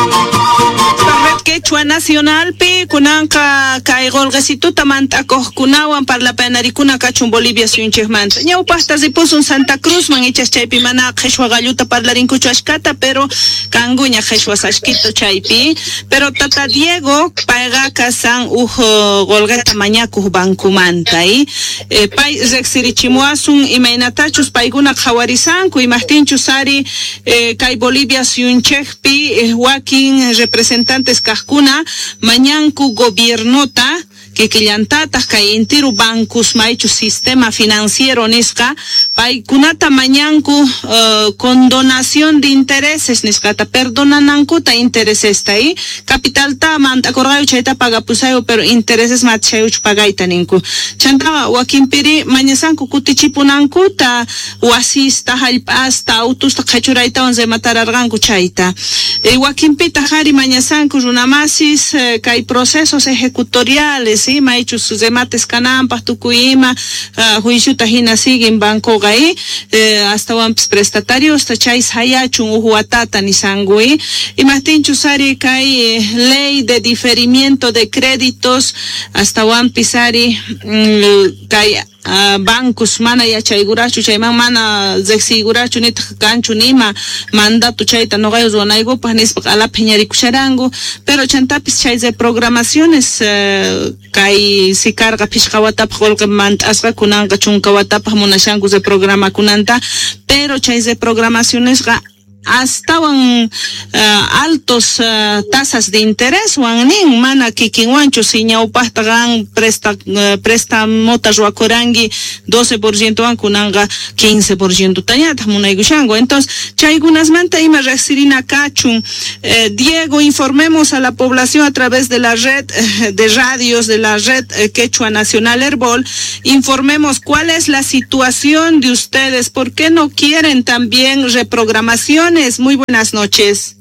Red Quechua Nacionalpi kunanqa kay qolqesituta mant'akuqkunawan parlapanarikuna kachun Bolivia suyunchikmanta. Ñawpaqta ripusun Santa Cruzman ichas chaypi mana qhishwa qalluta parlarinkuchu ashkata, pero kankuña qhishwas ashkito chaypi. Pero tata Diego payqa kasan uj qolqeta mañakuq bancomanta y pay riqsirichimuwasun imaynatachus paykuna qhawarisanku imaqtinchus ari kay Bolivia suyunchikpi wakin representantes kaqkuna mañanku gobiernota kikillantataq kay intiru bancos maychu sistema financiero nisqa paykunata mañanku condonación de intereses nisqata perdonanankuta interesesta y capitalta mant'akurqayu chayta pagapusayu pero intereses machayuchu pagayta ninku chanta wakinpiri mañasanku kutichipunankuta wasista hallp'asta autusta qhachuraytawan rematararqanku chayta wakinpitaq ari mañasanku runamasis kay procesos ejecutoriales ¿sí? Maychus remates kananpaq tukuy ima juiciuta hina siguen bancoqa astawanpis prestatariusta chay sayachun uj watata nisanku imaqtinchus ari kay ley de diferimiento de créditos astawanpis ari kay bancos mana yachaykurachu chayman mana riqsiykurachu nitaq kanchu nima mandato chayta nuqayu ruwanaykupaq nispa q'alapi phiñarikusharanku pero chantapis chay reprogramaciones kay si karqa phishqa watapaq qullqi mant'asqa kunanqa chunka watapaq munashanku reprogramakunanta pero chay reprogramacionesqa astawan altos tasas de interés wan nin mana kikinwanchu si ñawpaqta qan prestamota ruwakuranki 12% wan kunanqa 15% tañataq munaykushanku. Entonces chaykunasmanta ima riqsirina kachun. Diego, informemos a la población a través de la red de radios de la red Quechua Nacional Herbol, informemos cuál es la situación de ustedes, por qué no quieren también reprogramación. Muy buenas noches.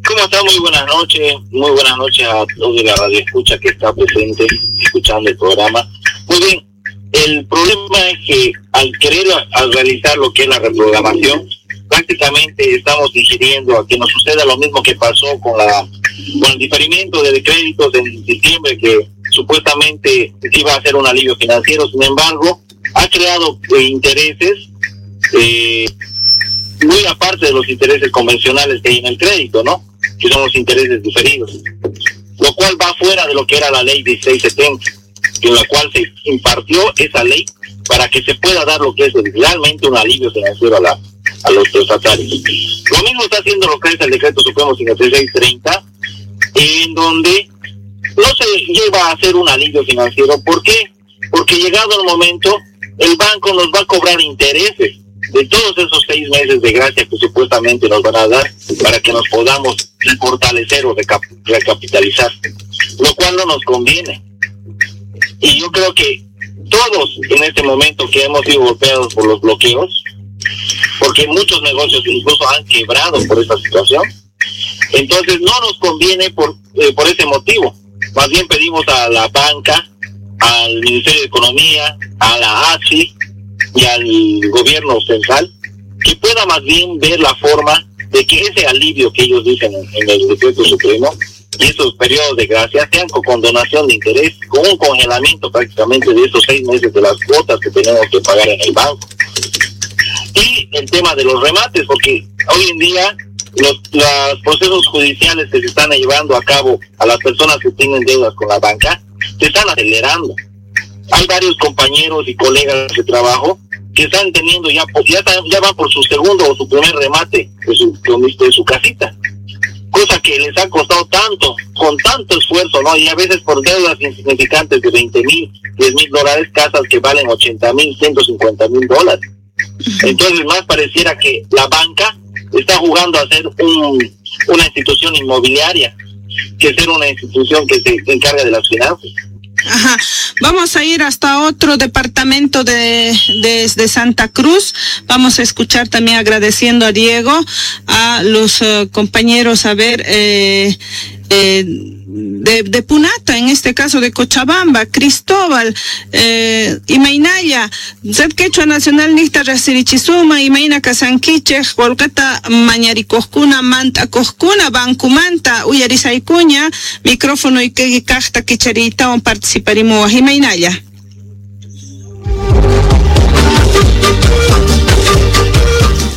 ¿Cómo está? Muy buenas noches. Muy buenas noches a todos de la radio escucha que está presente escuchando el programa. Muy bien, el problema es que al querer al realizar lo que es la reprogramación, prácticamente estamos ingiriendo a que nos suceda lo mismo que pasó con el diferimiento de créditos en diciembre, que supuestamente iba a ser un alivio financiero. Sin embargo, ha creado intereses muy aparte de los intereses convencionales que hay en el crédito, ¿no? Que son los intereses diferidos, lo cual va fuera de lo que era la ley 1670, en la cual se impartió esa ley para que se pueda dar lo que es realmente un alivio financiero a los prestatarios. Lo mismo está haciendo lo que es el decreto supremo 5630, en donde no se lleva a hacer un alivio financiero. ¿Por qué? Porque llegado el momento, el banco nos va a cobrar intereses de todos esos 6 meses de gracia que supuestamente nos van a dar para que nos podamos fortalecer o recapitalizar, lo cual no nos conviene. Y yo creo que todos en este momento que hemos sido golpeados por los bloqueos, porque muchos negocios incluso han quebrado por esta situación, entonces no nos conviene por ese motivo. Más bien pedimos a la banca, al Ministerio de Economía, a la ACI y al gobierno central, que pueda más bien ver la forma de que ese alivio que ellos dicen en el decreto supremo y esos periodos de gracia sean con condonación de interés, con un congelamiento prácticamente de esos 6 meses de las cuotas que tenemos que pagar en el banco. Y el tema de los remates, porque hoy en día los procesos judiciales que se están llevando a cabo a las personas que tienen deudas con la banca se están acelerando. Hay varios compañeros y colegas de trabajo que están teniendo ya van por su segundo o su primer remate de su casita, cosa que les ha costado tanto, con tanto esfuerzo, ¿no? Y a veces por deudas insignificantes de 20,000, $10,000, casas que valen 80,000, $150,000. Entonces más pareciera que la banca está jugando a ser una institución inmobiliaria que ser una institución que se encarga de las finanzas. Ajá. Vamos a ir hasta otro departamento de Santa Cruz. Vamos a escuchar también, agradeciendo a Diego, a los compañeros, a ver, de Punata, en este caso de Cochabamba, Cristóbal, imaynalla, Red Quechua Nacional niqta riqsirichisuma, imayna kasankichik, qullqita mañarikuqkuna, mant'akuqkuna, bancumanta uyarisaykuña, micrófono y kaqta kichariytawan participarimuwaq, imaynalla.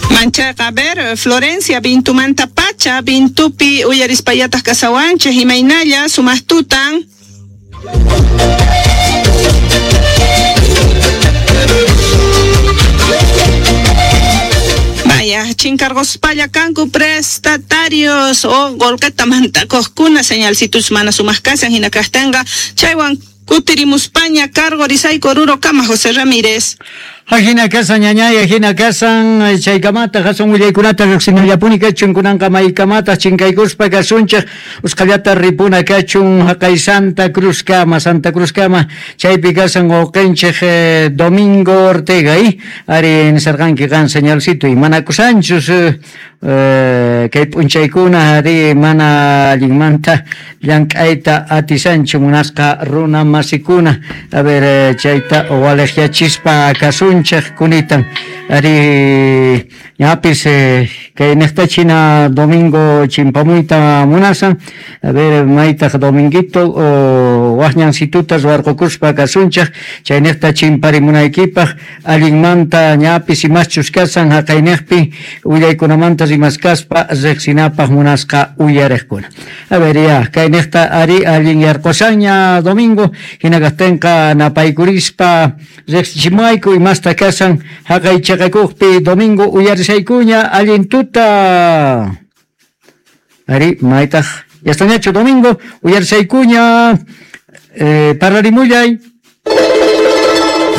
Manchaqa, a ver, Florencia, Vintumanta pacha, Vintupi uyarispayataq kasawanchik, imaynalla, sumaqtutan. Vaya, chinkargospalla kanku prestatarios o qullqita mantakuqkuna, señalcitus mana sumaq kasan hina kaqtinqa, chaywan kutirimuspaña cargo risayku Oruro kama, José Ramírez. Ajina kasan ñañay, ajina kasan chaykamata hasun willaykunata riqsinallapuni kachun kunanqa maykamata chinkaykuspa kasunchik usqhallata ripuna kachun haqay Santa Cruz kama, Santa Cruz kama chaypi kasan wawqinchik Domingo Ortega ari nisarqanki qan señalcito y manakusanchus kay p'unchaykuna ari mana allinmanta llank'ayta atisanchu munasqa runa masikuna, a ver chayta waliqyachispa kasun kunitan ari ñapis kay niqtachina Domingo chimpamuyta munasan, a ver maytaq Dominguito waqñansituta ruwarqukuspa kasunchik chay niqta chimparimunaykipaq allinmanta ñapis imaschus kasan haqayniqpi willaykunamanta rimaskaspa riqsinapaq munasqa uyariqkuna. A ver ya kay niqta ari allin yarqusanña Domingo hina kaqtinqa napaykurispa riqsichimuayku imasta kasan haqay chaqakuqpi Domingo uyarisaykuña allin tuta. Ari maytaq yastañachu Domingo uyarisaykuña parlarimullay.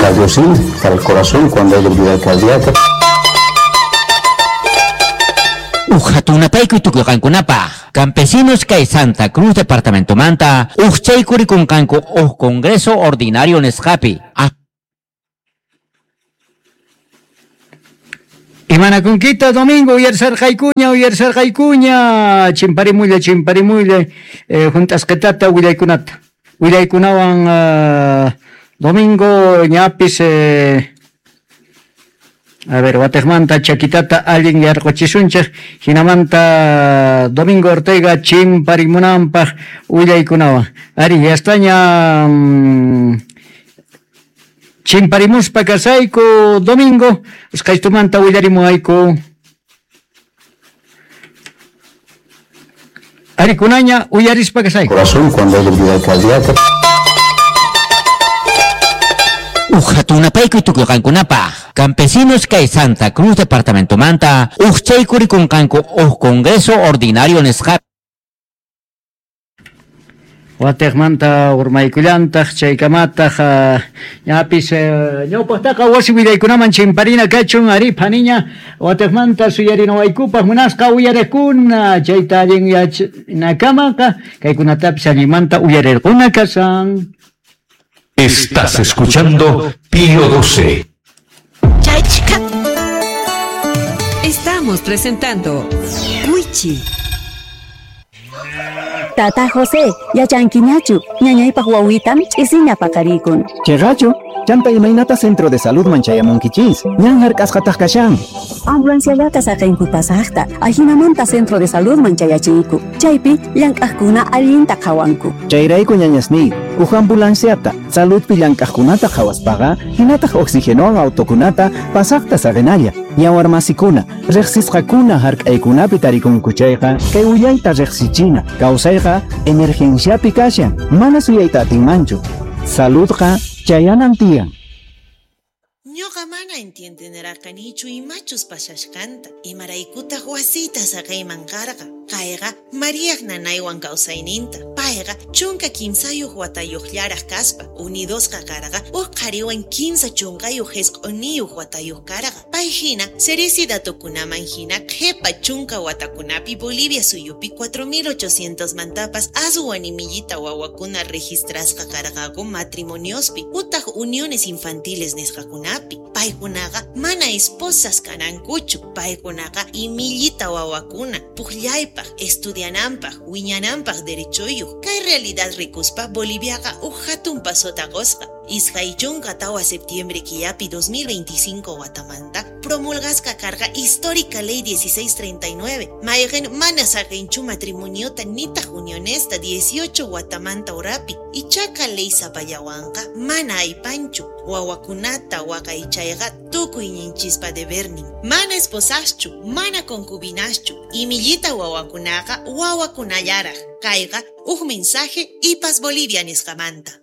Cardiocin para el corazón cuando hay debilidad cardíaca. Ujatunapaykuy tukuyqankunapaq campesinos kay Santa Cruz departamento manta uqchaykurikunqanku uj congreso ordinario nisqapi. Imanakunkita Domingo uyarisarqaykuña uyarisarqaykuña chimparimulla chimparimulla junt'asqitata willaykunata willaykunawan Domingo ñapis a ver watiqmanta chakitata allin yarquchisunchik hinamanta Domingo Ortega chimparimunanpaq willaykunawan ari yastaña chimparimuspa kasayku Domingo usqhaystumanta willarimuayku arikunaña uyarispa kasayku. Corazón cuando hay debilidad cardíaca. Ujatunapaykuy tukuyqankunapaq campesinos kay Santa Cruz departamento manta uqchaykurikunqanku uj congreso ordinario nisqapi. Watiqmanta urmaykullantaq chaykamataq ñapis ñawpaqtaqa wasi willaykunaman chimparina kachun ari phaniña watiqmanta suyarinawaykupaq munasqa uyariqkuna chayta allin yachanakamaqa kaykunatapis allinmanta uyarirquna kasan. Estás escuchando Pío 12. Estamos presentando Wichi. Tata José, yachankiñachu, ñañaypaq wawitam ch'isiña paqarikun. Chayrachu, chanta imaynata centro de salud man chayamunkichis, ñan hark'asqataq kashan. Ambulanciallata saqinku pasaqta, ajinamanta centro de salud man chayachiyku, chaypi llank'aqkuna allinta qhawanku. Chayrayku ñañasniy, uj ambulanciata, saludpi llank'aqkunata qhawaspaqa, hinataq oxigenowan autokunata pasaqta saqinalla. Yawarmasikuna, riqsisqakuna hark'aykunapi tarikunku chayqa, kay willayta riqsichina, kawsayqa emergenciapi kashan, mana suyayta atinmanchu. Saludqa chayanan tiyan. Ñuqa mana entiendenarqanichu imachus pasashqanta, imaraykutaq wasita saqayman karqa. Kayqa Mariaq nanaywan kawsayninta, payqa Payqa 13 watayuqllaraq kaspa unidosqa karqa uj qhariwan 39 watayuq karqa. Pay hina Ceresi datokunaman hina qhipa 10 watakunapi Bolivia suyupi 4800 mantapas aswan imillita wawakuna registrasqa karqaku matrimoniospi utaq uniones infantiles nisqakunapi. Paykunaqa mana esposas kanankuchu, paykunaqa imillita wawakuna puqllaypaq, estudiananpaq, wiñananpaq derechoyuq. Kay realidad rikuspa Boliviaqa uj hatun pasota qusqa. 24 septiembre killapi 2025 watamanta promulgasqa karqa histórica ley 1639 mayqin mana saqinchu matrimoniota nitaq unionesta 18 watamanta urapi. Ichaqa ley sapallawanqa mana aypanchu wawakunata waqaychayqa tukuyninchispa debernin. Mana esposaschu, mana concubinaschu, imillita wawakunaqa wawakunallaraq. Kayqa uj mensaje IPAS Bolivia nisqamanta.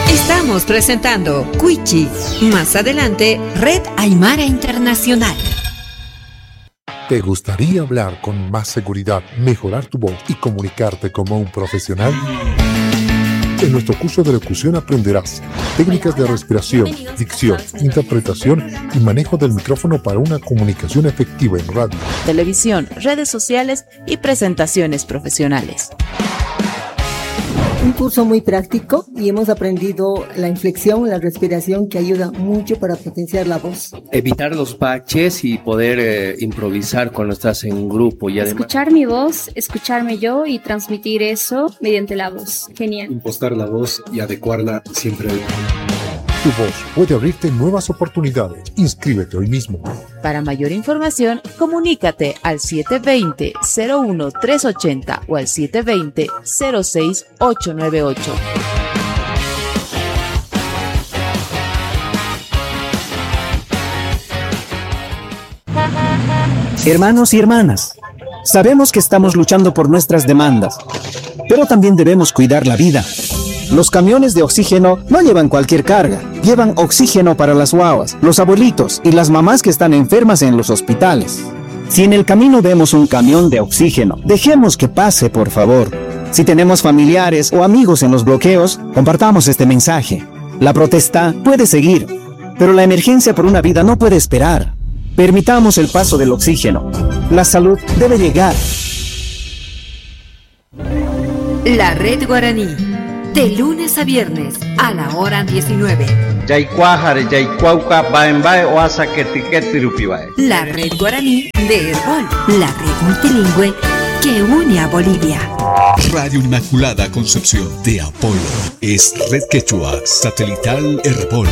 Estamos presentando Cuichi. Más adelante, Red Aymara Internacional. ¿Te gustaría hablar con más seguridad, mejorar tu voz y comunicarte como un profesional? En nuestro curso de locución aprenderás técnicas de respiración, dicción, interpretación y manejo del micrófono para una comunicación efectiva en radio, televisión, redes sociales y presentaciones profesionales. Un curso muy práctico y hemos aprendido la inflexión, la respiración, que ayuda mucho para potenciar la voz. Evitar los baches y poder improvisar cuando estás en grupo. Y además escuchar mi voz, escucharme yo y transmitir eso mediante la voz. Genial. Impostar la voz y adecuarla siempre. Tu voz puede abrirte nuevas oportunidades. Inscríbete hoy mismo. Para mayor información, comunícate al 720-01380 o al 720-06898. Hermanos y hermanas, sabemos que estamos luchando por nuestras demandas, pero también debemos cuidar la vida. Los camiones de oxígeno no llevan cualquier carga, llevan oxígeno para las guaguas, los abuelitos y las mamás que están enfermas en los hospitales. Si en el camino vemos un camión de oxígeno, dejemos que pase, por favor. Si tenemos familiares o amigos en los bloqueos, compartamos este mensaje. La protesta puede seguir, pero la emergencia por una vida no puede esperar. Permitamos el paso del oxígeno. La salud debe llegar. La Red Guaraní. De lunes a viernes, a la hora 19. La Red Guaraní de Herbol, la red multilingüe que une a Bolivia. Radio Inmaculada Concepción de Apolo es Red Quechua Satelital Herbol.